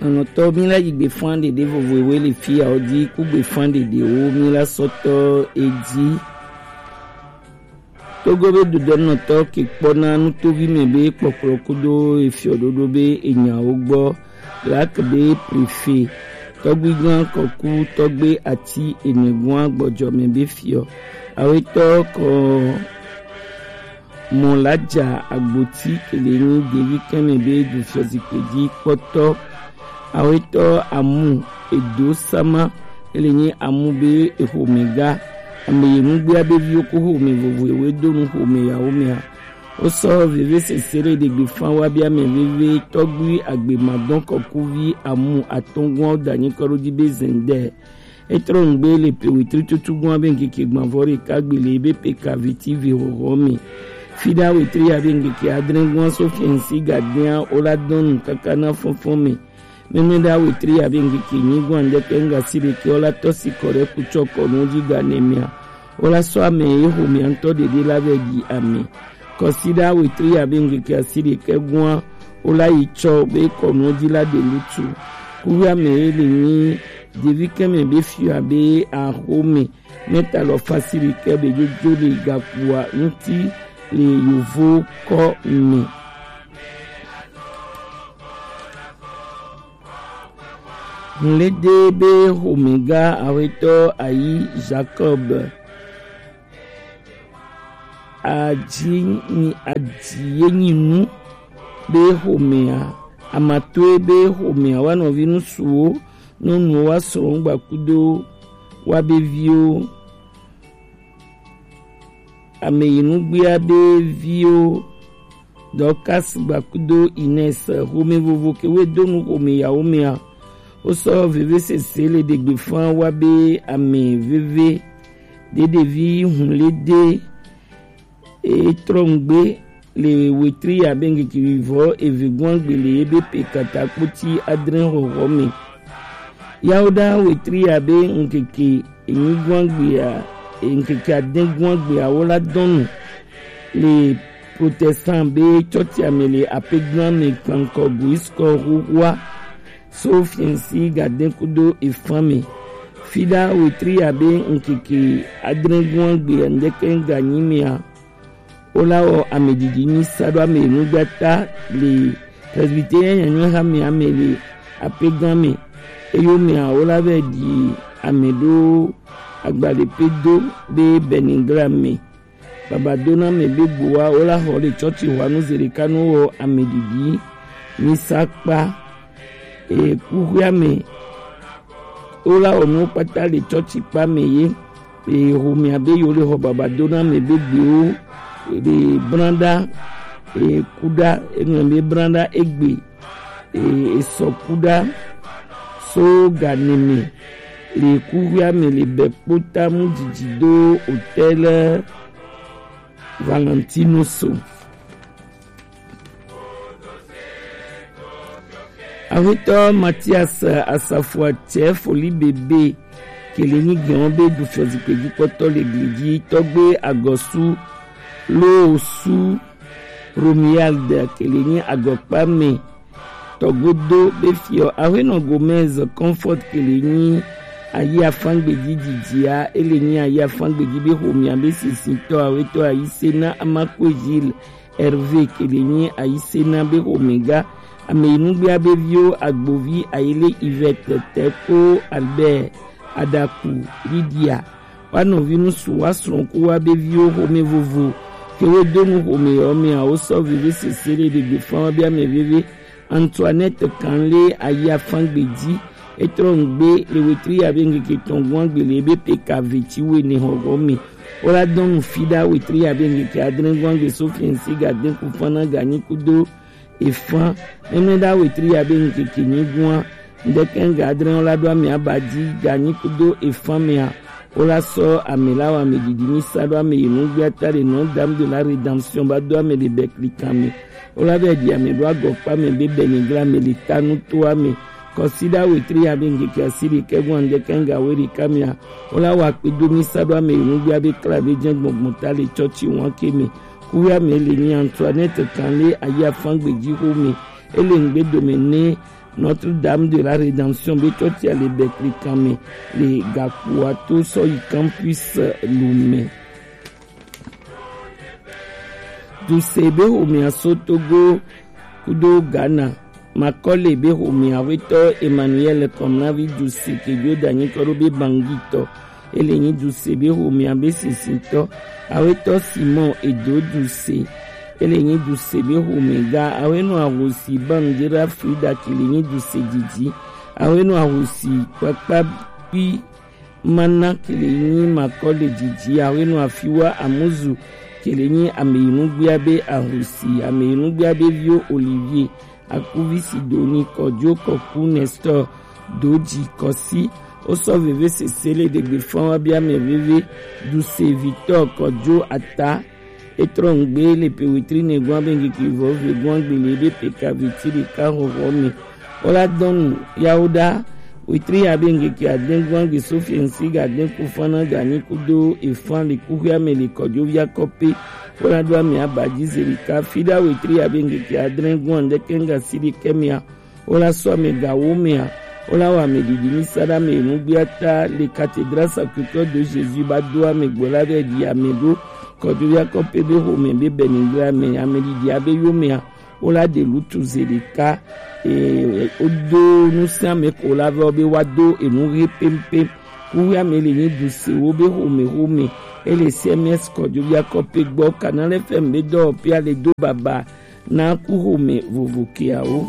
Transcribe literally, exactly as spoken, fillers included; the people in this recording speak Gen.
Nɔnɔtɔ mi la yi gbe fan ɖeɖe vovo ewe le fi ya o di ku gbe fan ɖeɖe wo mi la sɔtɔ e di. Togo be dodɔnɔtɔ ke kpɔna nutovi mɛ be kpɔkplɔ kudo efiɔ ɖoɖo be enyawo gbɔ. Lak be prefe tɔgbigan kɔku tɔgbe ati enegua gbɔjɔ mɛ be fiɔ. Awetɔ kɔ mɔ la ja agboti kele ni devi kɛmɛ be du fiɔ zikpe ji kpɔtɔ. Awetɔ amu edo sama ele nyi amu be exome ga ame yi nugbea be viwo ko xome vovo ewe do nu xome yawo mea. Wosɔ veve sese ɖe ɖegbe fan wa be ame veve tɔgbui agbe madɔn kɔkuvi amu atɔngɔn da nyi kɔ ɖo dzi be zɛndɛ. Etrɔ ŋgbe le pe wetri tutu gɔn be ŋkeke gbavɔ ɖeka gbe le ebe pe kaviti ve hoho me. Fida wetri ya be ŋkeke adre gɔn so fiɛnsi gadea wola dɔn nu kaka na fɔnfɔn me. Mɛmɛ ɖe awetri ya be ŋkeke nyi gɔn andɛkɛ ŋga si ɖeke wola tɔ si kɔ ɖe kutsɔ kɔnu dzi ga nɛ mea. Wola sɔ ame ye xomea ŋutɔ ɖeɖe la vɛ ɖi ame. Kɔsiɖa wetri abe ŋkeke asi ɖekɛ gɔa wola yi tsɔ be kɔnuɔ dzi la ɖe lutu. Kuvi ame ye le nyi ɖevi kɛmɛ be fiɔ abe axome mɛta lɔ fasi ɖekɛ be jojo le gakpua ŋuti le yovo kɔ me. Ŋlede be xomega awetɔ ayi Jacob. Adzi nyi adzi ye nyi nu be xomea, amatoe be xomea wa nɔvi ŋsuwo, nyɔnuwo, wa srɔ̃wo gbakudo wa be viwo, ame yi nugbea be viwo, Dorcas gbakudo Ines, xome vovo ke we do nu xome yawo mea, wosɔ veve sese le ɖegbe fan wa be ame veve ɖe ɖevi hun le de e trɔ ŋgbe le wetri abe ŋkeke vivɔ eve gɔn gbe le ebe pe kata kpoti adre xɔxɔ me. Yawo ɖa wetri abe ŋkeke enyi gɔn gbea, ŋkeke ade gɔn gbea wo la dɔn nu le protestant be tsɔtsia me le apeglan me kpankɔ guiskɔ xoxoa so fiɛnsi gade kudo efan me. Fiɖa wetri abe ŋkeke adre gɔn gbea ŋdɛkɛ ganyi mea, wo la wɔ ameɖiɖi nyi sa ɖo ame nugbata le presbyterien nyanyɔ hame ame le apeglan me. Eyo mea wo la vɛ ɖi ame ɖo agbalẽ pe do be Benigram me. Babadona me be gbowa wo la xɔ le tsɔtsi hwanu ze ɖeka nu wɔ ameɖiɖi nyi sa kpa. E kuxia me wo la wɔ nuwo kpata le tsɔtsi kpa me ye. E xomea be yo le xɔ babadona me be gbewo le branɖa e kuɖa enu be branɖa egbe e esɔ kuɖa so ganeme le kuxia me le bɛ kpota mu didi do hôtel Valentino so. Awetɔ Mathias Asafoa tsɛ foli bebe kele nyi gɛn be du fiɔ zikpe dzi kpɔtɔ le gli dzi tɔgbe agɔsu lo osu Romuald kele nyi agɔkpa me tɔgodo be fiɔ Ahuenɔ Gomez Comfort kele nyi ayi afangbe dzi dzidzia ele nyi ayi afangbe dzi be xomia be sisitɔ awetɔ ayi sena Amakwe Gilles Hervé kele nyi ayi sena be xomega ame yi nugbea be viwo agbovi ayile Yvette Teko Albert Adaku Lydia. Wa nɔvi ŋsu wa srɔ̃ ku wa be viwo xome vovo ke wo do nu xome yɔ mea wo sɔ veve sese ɖe ɖegbe fan wa be ame veve Antoinette Kanle ayi afangbe dzi etrɔ ŋgbe le wetri ya be ŋkeke tɔn gɔn agbe le ebe pe ka ve ci wene xɔxɔ me. Wo la dɔn nu fi ɖa wetri ya be ŋkeke adre gɔn agbe so fiɛnsi ga de ku fan na ga nyi kudo efan. Nɛnɛ ɖa wetri ya be ŋkeke nyi gɔn a ŋdɛkɛ ŋga adre wo la ɖo ame aba dzi ga nyi kudo efan mea. Wo la sɔ ame la wɔ ame ɖiɖi nyi sa ɖo ame yi nugbe ata ɖe non d'âme de la rédemption ba do ame ɖe bɛkli kan me. Wo la vɛ ɖi ame ɖo agɔkpa me be bɛnigla me le ta nuto ame. Kɔsiɖa wetri ya be ŋkeke asi ɖekɛ gɔn ŋdɛkɛ ŋga we ɖeka mea. Wo la wɔ akpe do mi sa ɖo ame yi nugbe abe kla be jɛ gbɔngbɔn ta le tsɔtsi wan ke me. Kuya me le nyi Antoinette kan le ayi afangbe dzi xo me. Ele ŋgbe dome ne Notre-Dame de la Rédemption be cɔtia le Bɛtlekanmɛ le Gakpoa to sɔ yi Campus Lomé. Duse be xomɛa so Togo kudo Ghana. Makɔle be xomɛa, Awetɔ Emmanuel Kɔmnavi Duse Kejo da nyikɔ ɖo be Bangui tɔ. Ele nyi Duse be xomɛa be sisitɔ. Awetɔ Simon Edo Duse. Ele nyi Duse be xomɛ ga. Awenɔ ahosi Bandera Frida ke le nyi Duse didi. Awenɔ ahosi kpakpa kpi mana ke le nyi Makɔle didi. Awenɔ afiwa Amuzu ke le nyi ameyinugbea be ahosi, ameyinugbea be vio Olivier, Akuvi Sidoni, Kɔjo Kɔku, Nestor Doji, Kɔsi. Wosɔ veve sese le ɖegbe fɔn wa bia mɛ veve. Duse Victor Kɔjo Ata. Etrɔ ŋgbe le pe wetri ne gwan be ŋkeke vɔ ve gwan gbele be pe ka viti ɖeka xɔxɔ me. Wola dɔnu yawo ɖa. Wetri ya be ŋkeke adɛn gwan gbe Sofiɛnsi ga dɛn ku fana ga nyi kudo efan le kuxia me le Kɔjo via kɔpe. Wola ɖo ame aba ji ze ɖeka fi ɖa wetri ya be ŋkeke adrɛn gwan ɖeke ŋga si ɖe kɛmia. Wola sɔ ame gawo mea. Wola wɔ ame ɖiɖi mi sa ɖa me nugbia ta le Cathédrale Sacré-Cœur de Jésus ba do ame gbɔ la be ɖi ame ɖo Kɔjo via kɔpe be xomɛ be bɛnigbe ame, ame ɖiɖi abe yo mea. Wola ɖe lutu ze ɖeka. Ee, wodo nu sia ame ko la vɛ be wa do enu ɣi pɛmpɛm. Kuxia me le nyi Duse wo be xomɛ xomɛ. Ele C M S Kɔjo via kɔpe gbɔ. Canal F M be dɔwɔƒea le do baba na ku xomɛ vovo keawo.